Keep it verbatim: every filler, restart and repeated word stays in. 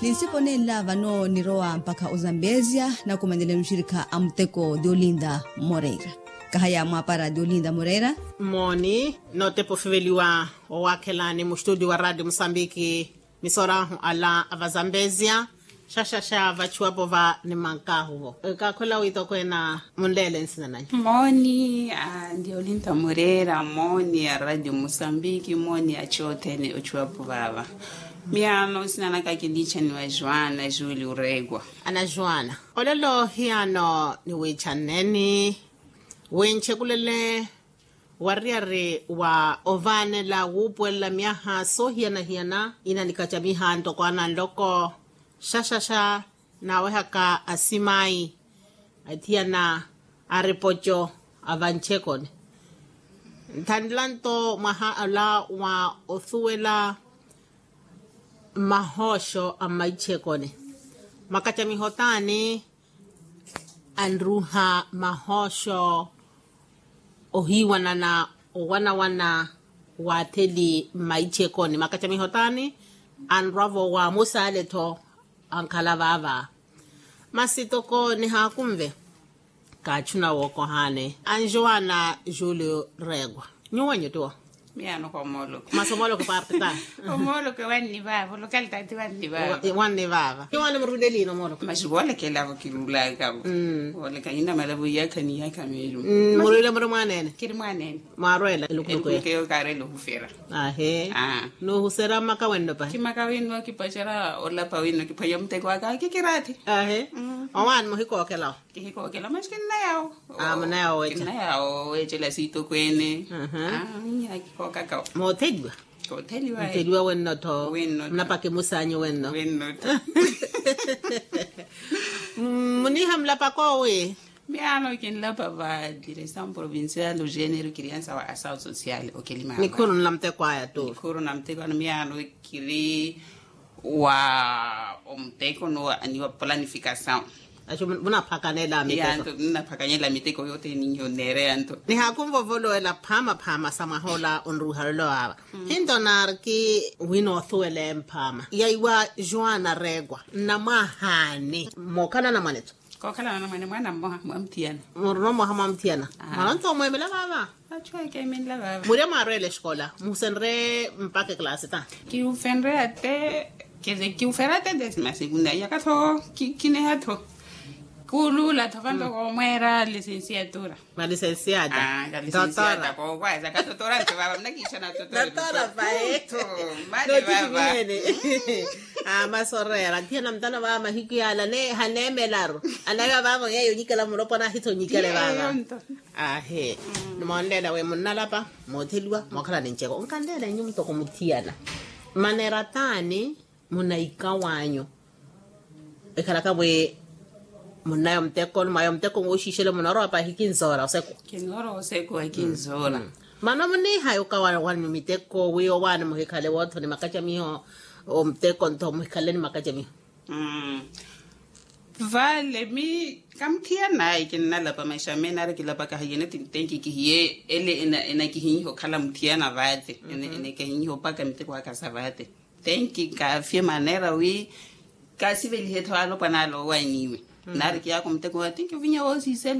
Ninsipo nenla vano nirowa mpakha ozambezia nakumanele muxirikha a muteko diolinda moreira. Kahaya mwapara diolinda moreira. Mooni nootepa ofiveliwa owakhelani muxitudio wa radio musambiki. Misorahu ala a vazambezia. Xaxaxa vachuwapo va nimankahuvo. Kakhwela witokwena munleele nsina nanyu. Mooni a ndiolinda moreira mooni a radio musambiki mooni a chothene ochuwapo vava. Miyaano nsina naka kiniichaniwa joana juli oreekwa. Ana joana, olelo hiyaano niwiichaneni winchekulele wariyari wa ovaanela wuupuwelela myaha soohiyana-hiyana. Inanikacamiha ntoko ana nloko xaxaxa naawehaka asimayi athiyana aripoco a vanchekoni. Nthanela nto mwaha ala wa osuwela mahooxo a mmaichekoni. Makacamiho taani anruha mahooxo ohiiwanana owanawana waatheli mmaichekoni makacamiho taani anrwavo wa musaale-tho ankhala vaava. Masi toko nihaakunve kaachuna wookohaani anjoana julio reegwa. Nyuwenyu tiwo. Miyaano komooloke masi omooloke parti taani. Omooloke wanni vaava olokalitaati wanni vaava. Wanni vaava nyuwano murwile liina omooloke masi voolekelavo kiruulakavo. Vooleka inamala voiyakha niyakha meeru. Murwile muri mwaneene. Kiri mwaneene. Mwarwela elukhuluku eyo kaarela ohufera. Ahe. Nuhusera mmaka wenno pahi kimaka winno kipacerya olapa winno kiphwanya muteko waka kikiraathi. Ahe. Owaani muhikookhelawo. Kihikookhela masi kinnayawo. Kinnayawo weecela siitokweene. Akikookakawo. Mootheliwa. Kootheliwa. Mootheliwa wenno-tho. Munapaka emusaanyu wenno. Muniiha mulapaka owi. Miyaano kinlapa va direção provincial o género criança wa ação social okelimana. Nikhuru nla muteko aya tu. Nikhuru na muteko ana miyaano kiri wa omuteko ni wa planificação. Aci munaphakanela miteko. Nnaphakanyela miteko yothene ninyo neereya nto. Nihaakunvovolowela phaama phaama sa mwaha ola onruuha lolo aava. Hinto naariki wina othuwele mphaama yaiwa joana reegwa nnamwahaani mookhala anamwane-tho. Kookhala anamwane mwaana mmoha mwamuthiyana. Murina omoha mwamuthiyana. Mwaana onto omweemela vaava. Achu ekeemenla vaava. Murya mwarweela exikola muhusenrye mpakha eklaasi ta? Kiufenrye ate kiufera ate desima segunda iyaka-tho. Kineha-tho kuuluula-tho vanto koomweera lisensiatura. Malisensiata. Kalisensiata kookwayasa katotora nto vaava munakiixa natotora. Mane vaava. Masoreera thiyana mutano vaava mahiku yaala haneemelaru. Anaiwa vaavo yeeyo onyikela mulopwana ahitha onyikele vaava. Ahe. Nimoonleela wi munnalapa mootheliwa mookhala ni nceko onkanleela inyu mutoko muthiyana. Maneera taani munaikawanyu ekhalaka wi munnaya omuteko ni mwaya omuteko wooxiixela munoorowa pahi kinzoora oseku. Kinzoora oseku ekinzoora. Mano muniihaya okawanyu miteko wi owaani muhikhale woothoni makacamiho omuteko ntho muhikhale ni makacamiho. Vale mi kamuthiyana ayi kinnalapa maisha meene ari kilapaka hayene tintenki kihiye ele enakihinyiha okhala muthiyana vaate. Enakihinyiha opaka miteko aka sa vaate. Tenki kaafye maneera wi kaasivelihe-tho alopwana ale owanyiwe. Naari kiyaaka omuteko wa tenki ovinya woosiisela.